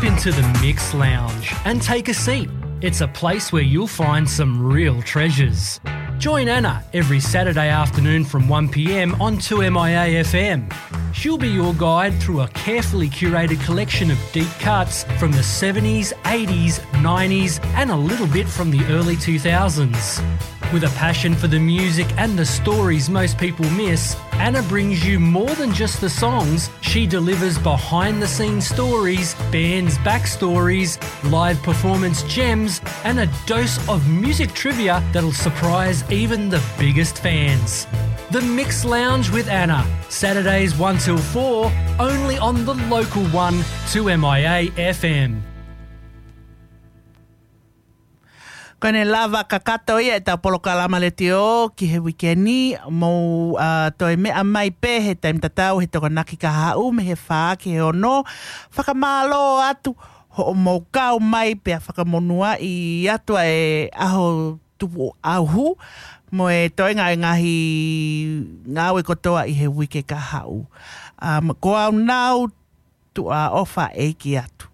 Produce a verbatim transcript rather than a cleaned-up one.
Into the Mix Lounge and take a seat. It's a place where you'll find some real treasures. Join Anna every Saturday afternoon from one p.m. on two M I A F M. She'll be your guide through a carefully curated collection of deep cuts from the seventies, eighties, nineties, and a little bit from the early two thousands. With a passion for the music and the stories most people miss, Anna brings you more than just the songs. She delivers behind the scenes stories, bands' backstories, live performance gems, and a dose of music trivia that'll surprise even the biggest fans. The Mix Lounge with Anna, Saturdays one till four, only on the local one, two M I A F M. Ko ʻene lava kakato ia ʻetau polokalama letiō ki he uike ni, mou, ā, toe meʻa mai pē he taimi tatau he Tokonaki Kahaʻu mei he fā ki he ono. Fakamālō atu hoʻomou kau mai pea fakamonūʻia atu ʻa e ʻaho tupu ʻauhu mo e toenga e ngaahi ngāue kotoa ʻi he uike kahaʻu. Ā, ko au nau tuʻa ʻofa ʻeiki atu.